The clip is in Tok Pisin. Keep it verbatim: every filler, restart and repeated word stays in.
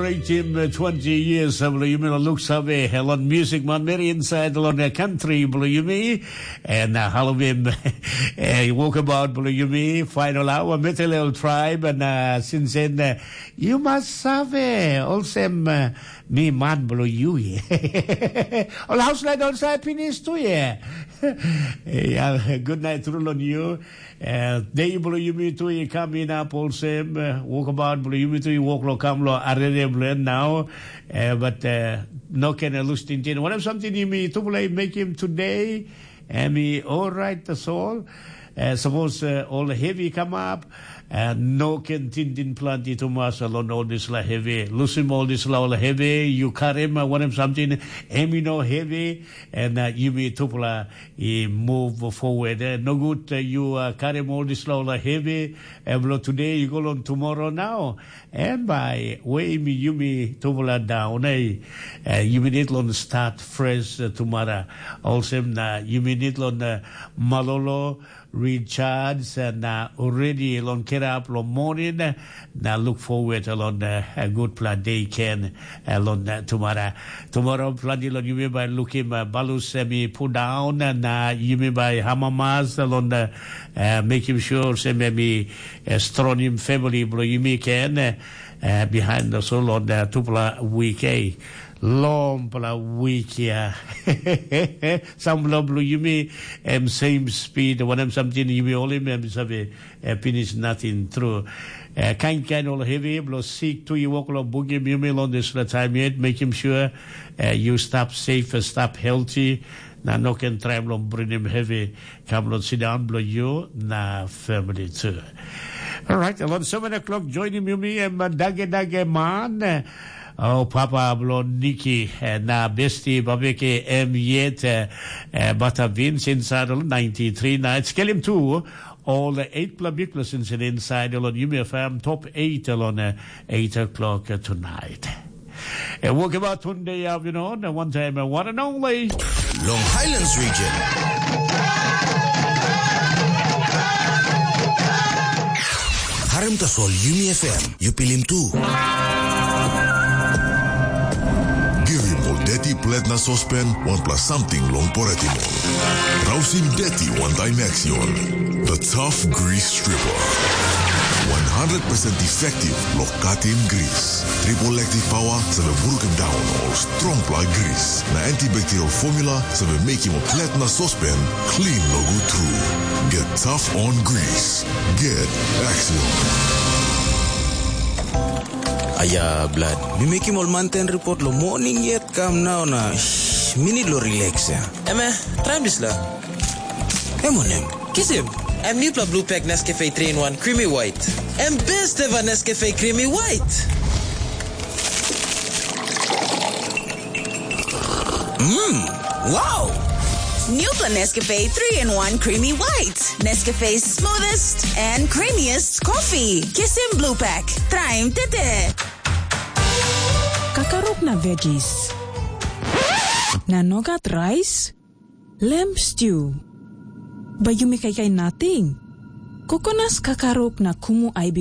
Celebratim uh, twenty years uh, bilong yumi lo luksave uh, lon music manmeri inside lon uh, country bilong yumi and uh, halobim uh, walkabout bilong yumi final hour metelel tribe and uh, since then uh, you must save olsem uh, mi man bilong yu. Ol hauslait ol sa pinis tu ye. Yeah, good night through on you. Uh, day bilong yumi tu i kam inap olsem uh, walkabout bilong yumi tu i wok lo kam lo arere bilong en nau. Uh, but uh, no ken uh, lus tintin. Wanem samting yumi tupela i mekim today, em i orait tasol. Uh, sapos uh, ol hevi i kamap, uh, no ken tintin planti tumas long ol dispela hevi. Lusim ol dispela ol hevi, yu karim uh, wanem samting, em i no hevi, and uh, yumi tupela i move forward. Eh, nogut eh, yu uh, karim ol dispela ol hevi eh, bilong today i go long tomorrow now. Em bai weim yumi tupela daun eh, eh, yumi nid long start fresh eh, tomorrow. Olsem na yumi nid long eh, malolo, recharge na uh, ready long kirap long morning. Na look forward long uh, a good plan day can uh, long uh, tomorrow. Tomorrow planti long yumi bai lukim uh, balus em i put down na yumi bai hamamas long uh, uh, making sure sem em i uh, stronim family bilong yumi ken uh, uh, behind the soul on uh, tupela week eh. Longpela week ya. Sampela bilong yumi em same speed wanem samting yumi holim em save eh, finish nothing through. Eh, kain kain ol heavy bilong sik tu i wok long bungim yumi long dispela taim yet, mekim sure eh, you stop safe, stop healthy, na no ken traim long bringim heavy kam long sindaun bilong yu na family tu. Alright, along seven o'clock joinim yumi em dage dage man. Oh, papa bilong Niki eh, na besti babeke em yet eh, eh, bata Vince inside of ninety-three nights. Skelim tu all the eight pla big lessons in inside along Yumi F M top eight along eh, eight o'clock eh, tonight. And we'll give out Tunde Avinon, one time, eh, one and only. Long Highlands region. Harim tasol Yumi F M, yu pilim tu. Givim ol deti plet na sospen wanpela samting long poretim ol. Rausim deti wantaim Axion. The Tough Grease Stripper. One hundred percent effective long katim gris. Triple active power save brukim daun ol strongpela gris. Na antibacterial formula save mekim ol plet na sospen clean nogut tru. Get tough on grease. Get Axion. Aya blad, mi mekim ol manten ripot long moning yet kam nau na shh, mi nid long rileks ya. Eme, traim dispela. Em wanem? Kisim. Em nupela blue pack Nescafe three in one Creamy White. Em best ever Nescafe Creamy White. Mm, wow! New Nescafe three in one Creamy White. Nescafe's smoothest and creamiest coffee. Kisim Blue Pack. Traim tete. Kakaruk na veggies. Na nogat rice? Lamb stew. Bai yumi kaikai nating. Kokonas kakaruk na kumu aibi